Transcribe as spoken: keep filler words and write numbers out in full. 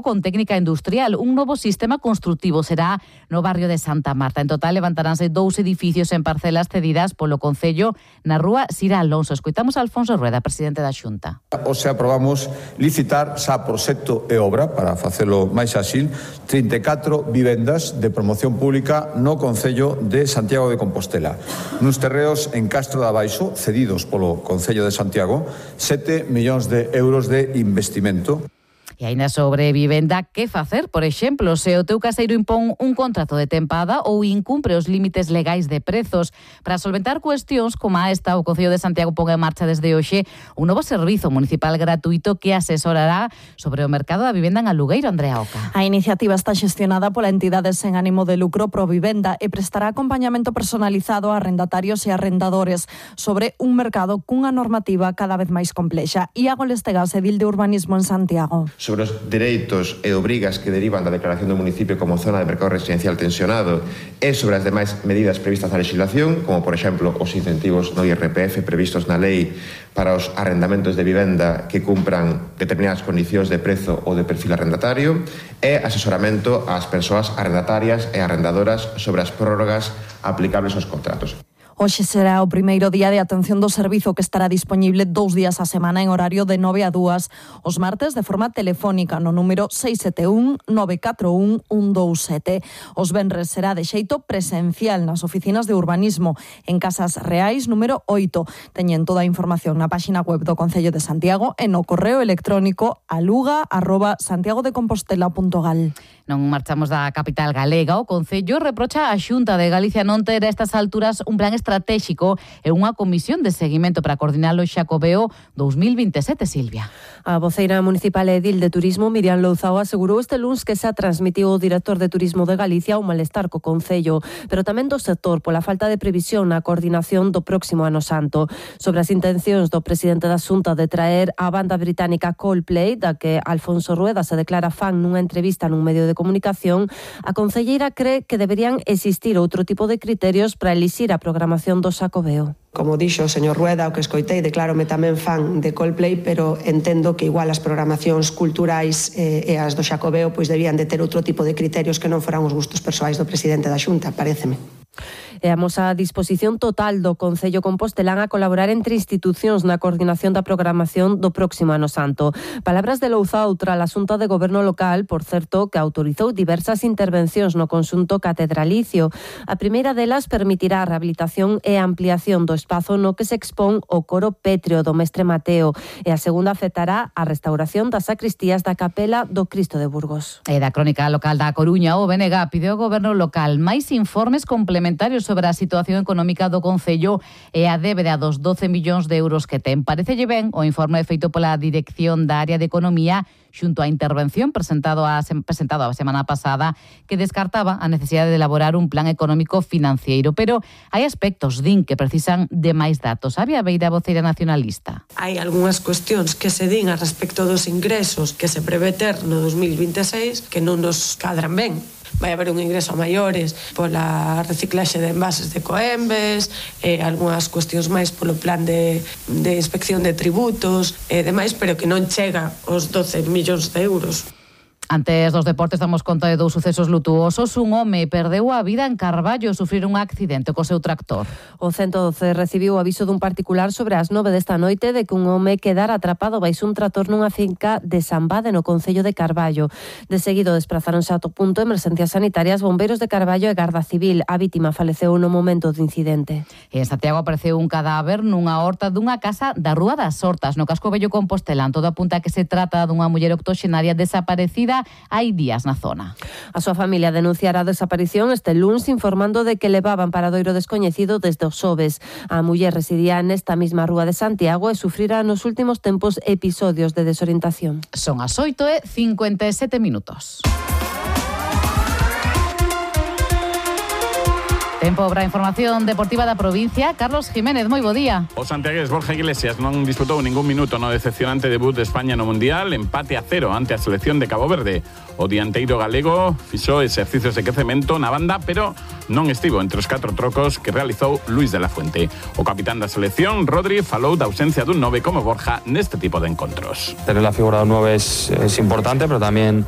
con técnica industrial. Un novo sistema construtivo será no barrio de Santa Marta. En total levantaránse dous edificios en parcelas cedidas polo Concello na rúa Sira Alonso. Escoitamos a Alfonso Rueda, presidente da Xunta. Hoxe aprobamos licitar xa proxecto e obra, para facelo máis áxil, trinta e catro vivendas de promoción pública no Concello de Santiago de Compostela. Nuns terreos en Castro de Abaixo, cedidos polo Concello de Santiago, sete millóns de euros de investimento. E aínda sobre vivenda, que facer? Por exemplo, se o teu caseiro impón un contrato de tempada ou incumpre os límites legais de prezos. Para solventar cuestións como a esta, o Concello de Santiago pon en marcha desde hoxe un novo servizo municipal gratuito que asesorará sobre o mercado da vivenda en alugueiro. Andrea Oca. A iniciativa está xestionada pola entidade sen ánimo de lucro Provivenda e prestará acompañamento personalizado a arrendatarios e arrendadores sobre un mercado cunha normativa cada vez máis complexa. Iago Lestegas, edil de Urbanismo en Santiago. Sobre os dereitos e obrigas que derivan da declaración do municipio como zona de mercado residencial tensionado e sobre as demais medidas previstas na legislación, como por exemplo os incentivos no I R P F previstos na lei para os arrendamentos de vivenda que cumpran determinadas condicións de prezo ou de perfil arrendatario, e asesoramento ás persoas arrendatarias e arrendadoras sobre as prórrogas aplicables aos contratos. Hoxe será o primeiro día de atención do servizo, que estará dispoñible dous días a semana en horario de nove a dúas. Os martes de forma telefónica no número seis sete un nove catro un un dous sete. Os venres será de xeito presencial nas oficinas de urbanismo en Casas Reais número oito. Teñen toda a información na páxina web do Concello de Santiago e no correo electrónico aluga arroba santiagodecompostela punto gal. Non marchamos da capital galega. O Concello reprocha a Xunta de Galicia non ter a estas alturas un plan estratégico e unha comisión de seguimento para coordinar o Xacobeo dous mil vinte e sete, Silvia. A voceira municipal edil de Turismo, Miriam Louzao, asegurou este luns que xa transmitiu o director de Turismo de Galicia o malestar co Concello, pero tamén do sector pola falta de previsión na coordinación do próximo Ano Santo. Sobre as intencións do presidente da Xunta de traer a banda británica Coldplay, da que Alfonso Rueda se declara fan nunha entrevista nun medio de comunicación, a concelleira cree que deberían existir outro tipo de criterios para elixir a programación do Xacobeo. Como dixo o señor Rueda, o que escoitei, declárome tamén fan de Coldplay, pero entendo que igual as programacións culturais eh, e as do Xacobeo pois debían de ter outro tipo de criterios que non foran os gustos persoais do presidente da Xunta, paréceme. E amos a disposición total do Concello Compostelán a colaborar entre institucións na coordinación da programación do próximo Ano Santo. Palabras de Louzao tras a Xunta de Goberno Local, por certo, que autorizou diversas intervencións no conxunto catedralicio. A primeira delas permitirá a rehabilitación e ampliación do espazo no que se expón o coro pétreo do Mestre Mateo, e a segunda afectará a restauración das sacristías da capela do Cristo de Burgos. E da crónica local da Coruña, o B N G pide ao Goberno Local máis informes complementarios sobre a situación económica do Concello e a débeda dos doce millóns de euros que ten. Parecelle ben o informe feito pola Dirección da Área de Economía xunto á intervención presentado a, presentado a semana pasada, que descartaba a necesidade de elaborar un plan económico financiero. Pero hai aspectos, din, que precisan de máis datos. Había Beira, voceira nacionalista. Hai algunhas cuestións que se din a respecto dos ingresos que se prevé ter no dos mil vinte e seis que non nos cadran ben. Vai haber un ingreso a maiores pola reciclaxe de envases de Coembes, e algunhas cuestións máis polo plan de, de inspección de tributos e demais, pero que non chega aos doce millóns de euros. Antes dos deportes damos conta de dous sucesos lutuosos. Un home perdeu a vida en Carballo ao sufrir un accidente co seu tractor. O ciento doce recibiu o aviso dun particular sobre as nove desta noite de que un home quedara atrapado baixo un tractor nunha finca de Sambade, no concello de Carballo. De seguido desprazáronse a punto emerxencias sanitarias, bombeiros de Carballo e Garda Civil. A vítima faleceu no momento do incidente. E en Santiago apareceu un cadáver nunha horta dunha casa da Rúa das Hortas, no casco vello Compostelán. Todo apunta a que se trata dunha muller octoxenaria desaparecida hai días na zona. A súa familia denunciará a desaparición este luns, informando de que levaban paradoiro descoñecido desde os xoves. A muller residía nesta mesma rúa de Santiago e sufrirá nos últimos tempos episodios de desorientación. Son as oito e cincuenta e sete minutos. Tempo para a información deportiva da provincia. Carlos Jiménez, moi bo día. O santiagués Borja Iglesias non disputou ningún minuto no decepcionante debut de España no Mundial, empate a cero ante a selección de Cabo Verde. O dianteiro galego fixou exercicios de quecemento na banda, pero non estivo entre os catro trocos que realizou Luis de la Fuente. O capitán da selección, Rodri, falou da ausencia dun nove como Borja neste tipo de encontros. Tener la figura de un nueve es, es importante, pero también